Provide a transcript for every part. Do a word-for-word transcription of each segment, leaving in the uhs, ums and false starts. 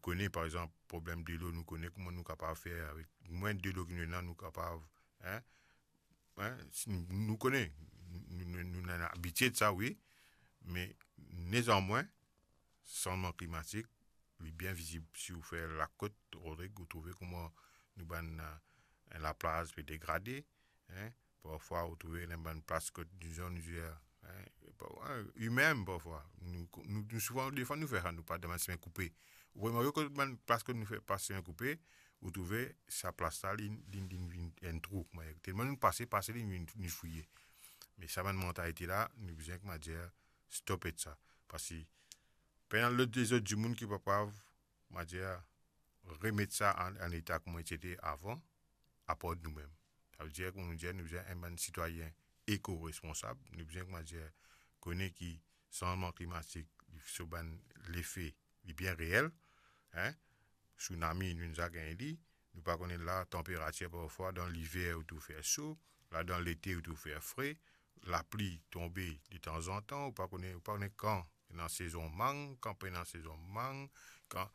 kone, par exanp, problem delo, nou kone kouma nou kapav fer avek mwin delo ki nou ena, nou kapav, hein, hein, si nou, nou kone, nou, nou, nou, nou abitie de sa, wi, me nezanmwin, sanzman klimatik, li bien vizib. Si ou fer lakot, Rodrig, ou trouve kouma nou bann, eh, laplaz pe degrade, hein. Parfwa, ou trouve dan bann plas kot dizon, nou dir, hein, pa-, hein, imem parfwa. Nou, nou, nou souvan, defwa, nou fer sa, nou pas dan bann semin koupe. Ou remake kot bann plas kot nou fer pas semin koupe, ou trouve sa plas la, li, li, li vinn enn trou, kouma, telman nou pase, pase, li vinn, vinn fouye. Me sa bann mantalite la, nou bizin, kouma dir, stop ek sa. Parski pena lot, lezot dimoun ki pa kapav, kouma dir, remet sa an, an eta kouma ti ete avan, apar noumem. Savedir, kouma nou dir, nou bizin enn bann sitwayin eko-responsab, nou bizin, kouma dir, kone ki sanzman klimatik, so bann lefe, li bien reel, hein. Tsunami, nou, nou za gagn li, nou pa kone la, tanperatir parfwa, dan liver ou trouv fer so, la, dan lete ou trouv fer fre, lapli tonbe de tanzantan, ou pa kone, ou pa kone kan ena sezon mang, kan pena sezon mang, kan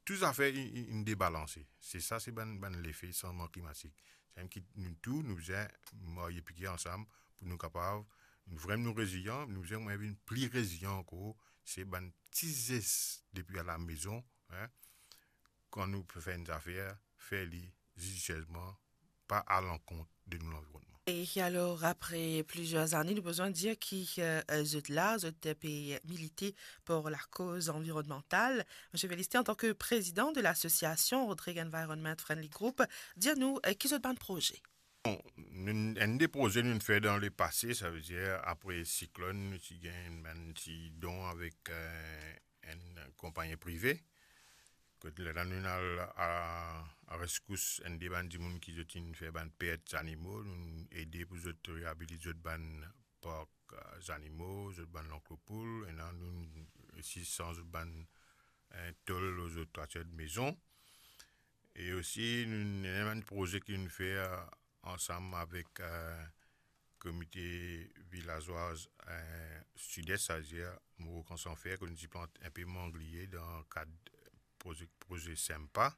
tou zafer inn, inn, inn debalanse. Se sa, se bann, bann lefe sanzman klimatik. Samem ki nou tou, nou bizin marye pike ansam pou nou kapav, nou vremem nou rezilyan, nou bizin mem vinn pli rezilyan ankor, se bann ti zes depi alamezon, hein, kan nou pe fer enn zafer, fer li zidisiezman, pa alankont de nou lanvironnman. E alor, apre plizier zane, nou bizin dir ki, eh, zot la, zot pe milite pou lakoz anvironmantal. Misie Felicité, antan ki prezidan de lasosiasion Rodrigues Environment Friendly Group, dir nou, eh, ki zot bann proze? Bon, nou, enn de proze nou fer dan lepase, savedir apre siklonn, nou ti gagn enn ti don avek, eh, enn konpagni prive. Kot la, nou al a, a reskous enn de bann dimoun ki zot inn fer bann pert zanimo, nou ede pou zot reabilit zot bann park, eh, zanimo, zot bann lanklo poul, ena nou osi sanz zot bann, eh, tol lor zot toitir de mezon. E osi, nou, nou ena bann proze ki nou fer, eh, ansam avek, eh, Komite Vilazwaz, eh, Sides, savedir Moro Kan San Fer, kot nou ti plant enpe mangliye dan kad proze, proze SEMPA.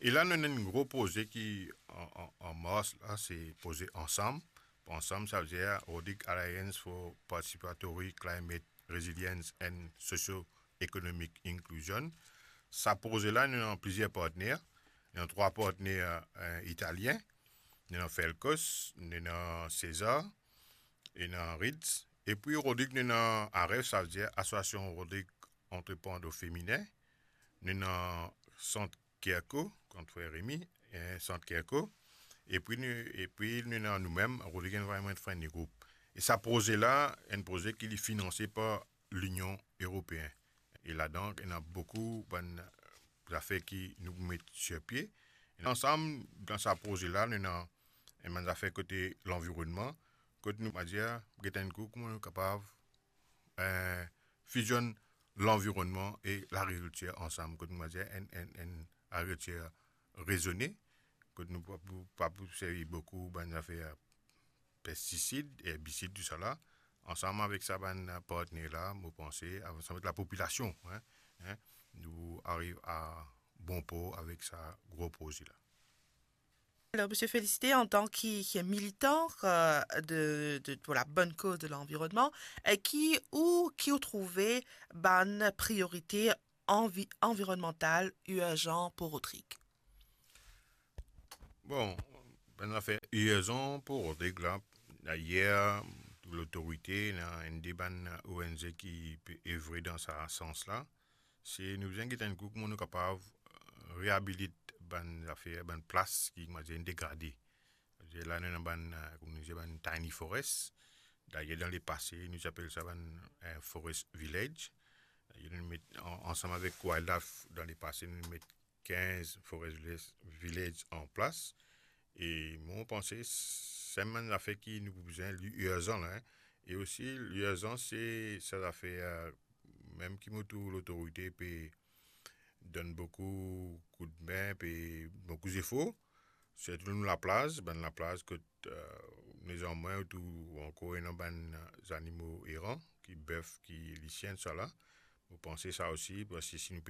E la, nou ena enn gro proze ki an, an, an mars la, se proze Ansam. Ansam, savedir Rhodrigue Alliance for Participatory Climate Resilience and Socio-Economic Inclusion. Sa proze la, nou ena plizier partner. Nou ena trwa partner, eh, italien. Nou ena Felcos, nou ena Cesar, nou ena Ridz. Epi Rhodrigue, nou ena AREF, savedir Association Rhodrigue Entreprendre Feminin. Nou ena Sant Kerko, kot frer Remy, eh, Sant Kerko. Epi nou, epi nou ena noumem, Rhodrigue Environment Friendly Group. E sa proze la, enn proze ki li finanse par Linion Eropeen. E ladan, ena boukou bann zafer ki nou met sir pie. E ansam, dan sa proze la, nou ena enn bann zafer kote lanvironnman, kot nou, kouma dir, get enn kou, kouma nou kapav, eh, fizionn lanvironnman e lagrikiltir ansam, kot nou, kouma dir, enn, enn, enn lagrikiltir rezone, kot nou pa pou, pa pou servi boukou bann zafer pestisid, erbisid, tousala. Ansam avek sa bann partner la, mo panse, ansam avek lapopilasion, hein, hein, nou ariv a bon port avek sa gro proze la. Alors, Monsieur Félicité, en tant que militant, euh, de, de, pour la bonne cause de l'environnement, euh, ki ou, ki ou trouve bann priorite anvi-, anvironmantal irzan pou Rodrigue? Bon, bann zafer irzan pou Rodrigue la, dayer, lotorite, ena enn de bann O N G ki pe evre dan sa sans la. Se nou bizin get enn kou kouma nou kapav, euh, reabilit bann zafer, bann plas ki, kouma dir, degrade. Savedir la, nou ena bann, euh, kouma nou dir, bann tiny forest. Dayer, dan lepase, nou ti apel sa bann, euh, forest village. Dayer, nou met an-, ansam avek Wildlife, dan lepase, nou met kinz forest village, village an plas. E mo panse, se enn bann zafer ki nou bizin, li irzan la, hein. E osi, li irzan, se sa zafer, euh, mem ki mo trouv lotorite pe donn boukou koudme, pe boukou zefor, sirtou nou laplaz, bann laplaz kot, euh, nezanmwin ou trouv ankor ena bann zanimo eran, ki bef, ki lisien, tousala. Mo panse sa osi, parski si nou